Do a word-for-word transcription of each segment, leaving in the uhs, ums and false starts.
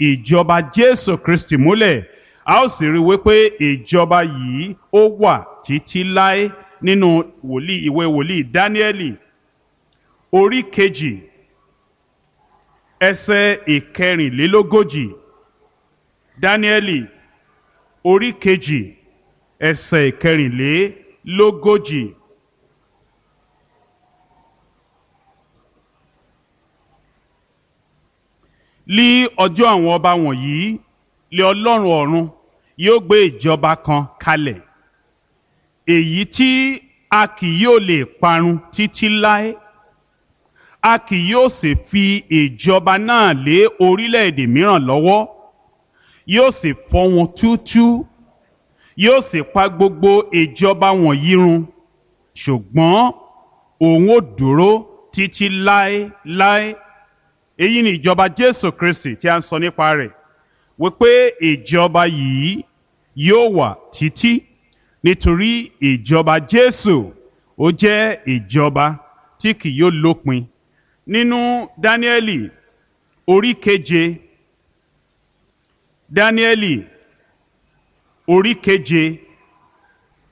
ìjọba Jésù Kristi múlẹ̀. A ó sì rí wípé ìjọba yìí ó wà títí láé nínú wòlíì ìwé wòlíì Dáníẹ́lì orí kejì ẹsẹ̀ ìkẹrìnlélógójì. Dáníẹ́lì orí kejì ẹsẹ̀ ìkẹrìnlélógójì. Lí ọjọ́ àwọn ọba wọ̀nyí lé Ọlọ́run ọ̀run yóò gbé ìjọba kan kalẹ̀, èyí tí a kì yóò lè parun títí láé, a kì yóò sì fi ìjọba náà lé orílẹ̀-èdè mìíràn lọ́wọ́, yóò sì fọ́ wọn túútúú, yóò sì pa gbogbo ìjọba wọ̀nyí run, ṣùgbọ́n òun ó dúró títí láéláé. Èyí ni ìjọba Jésù Kristi tí a ń sọ nípa rẹ̀, wípé ìjọba yìí yóò wà títí, nítorí ìjọba Jésù ó jẹ́ ìjọba tí kì yóò lópin. Nínú Dáníẹ́lì orí keje, Dáníẹ́lì orí keje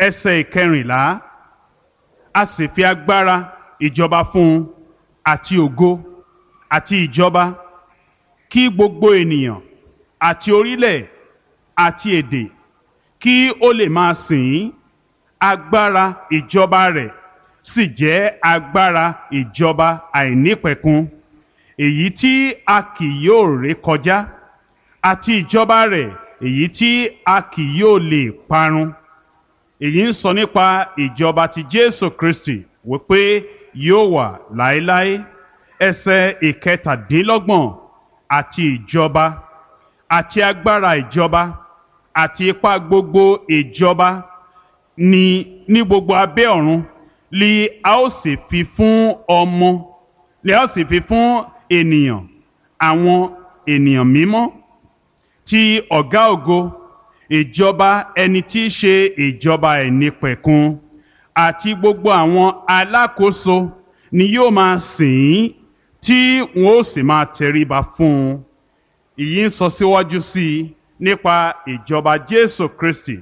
ẹsẹ̀ ìkẹrìnlá, a sì fi agbára ìjọba fún un àti ògo àti ìjọba, kí gbogbo ènìyàn àti orílẹ̀ àti èdè kí ó lè máa sìn ín. Agbára ìjọba rẹ̀ sì jẹ́ agbára ìjọba àìnípẹ̀kun, èyí tí a kì yóò ré kọjá, àti ìjọba rẹ̀ èyí tí a kì yóò lè parun. Èyí ń sọ nípa ìjọba ti Jésù Kristi wípé yóò wà láéláé. Ẹsẹ̀ ìkẹtàdínlọ́gbọ̀n, àti ìjọba àti agbára ìjọba àti ipá gbogbo ìjọba ní ní gbogbo abẹ́ ọ̀run li a ó sì fi fún ọmọ, li a ó sì fi fún ènìyàn, àwọn ènìyàn mímọ́ ti ọ̀gá ògo, ìjọba ẹni tí í ṣe ìjọba ẹ̀nípẹ̀kun, àti gbogbo àwọn alákòóso ni yóò máa sìn ín, tí wọn ó sì máa tẹríba fún un. Ìyí ń sọ síwájú sí i nípa ìjọba Jésù Kristi.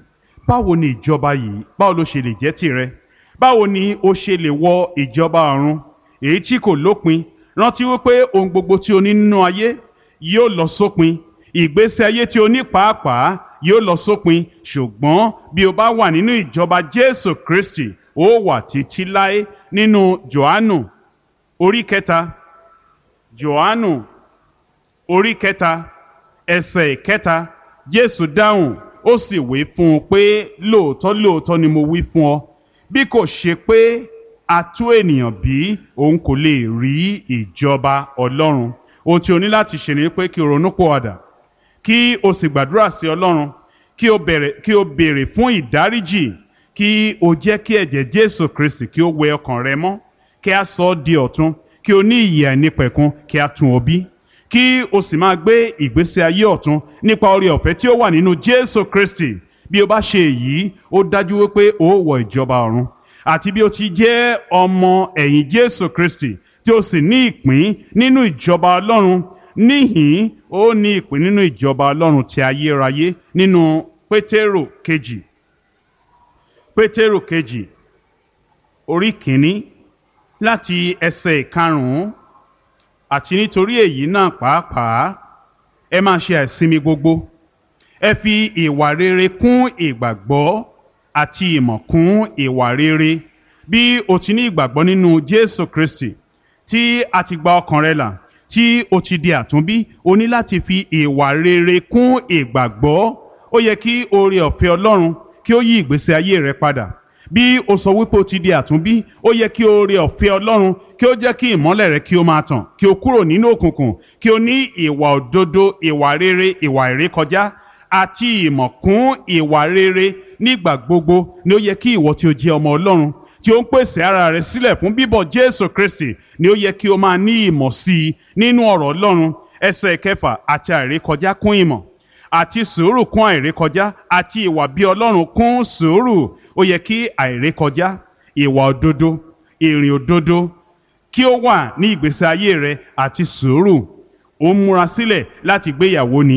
Báwo ni ìjọba yìí, báwo ló ṣe lè jẹ́ tìrẹ? Báwo ni o ṣe lè wọ ìjọba ọ̀run èyí tí kò lópin? Rántí wípé ohun gbogbo tí o ní nínú ayé yóò lọ sópin, ìgbésí ayé tí o ní pàápàá yóò lọ sópin, ṣùgbọ́n bí o bá wà nínú ìjọba Jésù Kristi, ó wà títí láé. Nínú Jòhánù orí kẹta, Jòhánù orí kẹta ẹsẹ̀ ìkẹta, Jésù dáhùn ó sì wí fún un pé, lóòótọ́ lóòótọ́ ni mo wí fún ọ, bí kò ṣe pé a tú ènìyàn bí, òun kò lè rí ìjọba Ọlọ́run. Ohun tí o ní láti ṣe ni pé kí o ronúpìwàdà, kí o sì gbàdúrà sí Ọlọ́run, kí o bẹ̀rẹ̀, kí o béèrè fún ìdáríjì, kí o jẹ́ kí ẹ̀jẹ̀ Jésù Kristi kí ó wẹ ọkàn rẹ mọ́, kí a sọ ọ́ di ọ̀tun, kí o ní ìyè àìnípẹ̀kun, kí a tún ọ bí, kí o sì máa gbé ìgbésí ayé ọ̀tun nípa oore ọ̀fẹ́ tí ó wà nínú Jésù Kristi. Bí o bá ṣe èyí, ó dájú wípé o ó wọ ìjọba ọ̀run. Àti bí o ti jẹ́ ọmọ ẹ̀yìn Jésù Kristi tí o sì ní ìpín nínú ìjọba Ọlọ́run, níhìn ó ní ìpín nínú ìjọba Ọlọ́run ti ayérayé. Nínú Pétérò kejì, Pétérò kejì orí kìíní láti ẹsẹ̀ ìkarùn-ún, àti nítorí èyí náà pàápàá ẹ máa ṣe àìsinmi gbogbo, ẹ fi ìwà rere kún ìgbàgbọ́, àti ìmọ̀ kún ìwà rere. Bí o ti ní ìgbàgbọ́ nínú Jésù Kristi, tí a ti gba ọkàn rẹ là, tí o ti di àtúnbí, o ní láti fi ìwà rere kún ìgbàgbọ́. Ó yẹ kí oore ọ̀fẹ́ Ọlọ́run kí ó yí ìgbésí ayé rẹ padà. Bí o sọ wípé o ti di àtúnbí, ó yẹ kí oore ọ̀fẹ́ Ọlọ́run kí ó jẹ́ kí ìmọ́lẹ̀ rẹ kí ó máa tàn, kí o kúrò nínú òkùnkùn, kí o ní ìwà òdodo, ìwà rere, ìwà ìrékọjá àti ìmọ̀ kún ìwà rere nígbà gbogbo. Ni ó yẹ kí ìwọ tí o jẹ́ ọmọ Ọlọ́run tí ó ń pèsè ara rẹ sílẹ̀ fún bíbọ̀ Jésù Kristi, ni ó yẹ kí o máa ní ìmọ̀ sí i nínú ọ̀rọ̀ Ọlọ́run. Ẹsẹ̀ kẹfà, àti àìrékọjá kún ìmọ̀, àti sùúrù kún àìrékọjá, àti ìwà bí Ọlọ́run kún sùúrù. Ó yẹ kí àìrékọjá, ìwà òdodo, ìrìn òdodo kí ó wà ní ìgbésí ayé rẹ, àti sùúrù. Ó ń múra sílẹ̀ láti gbéyàwó ni.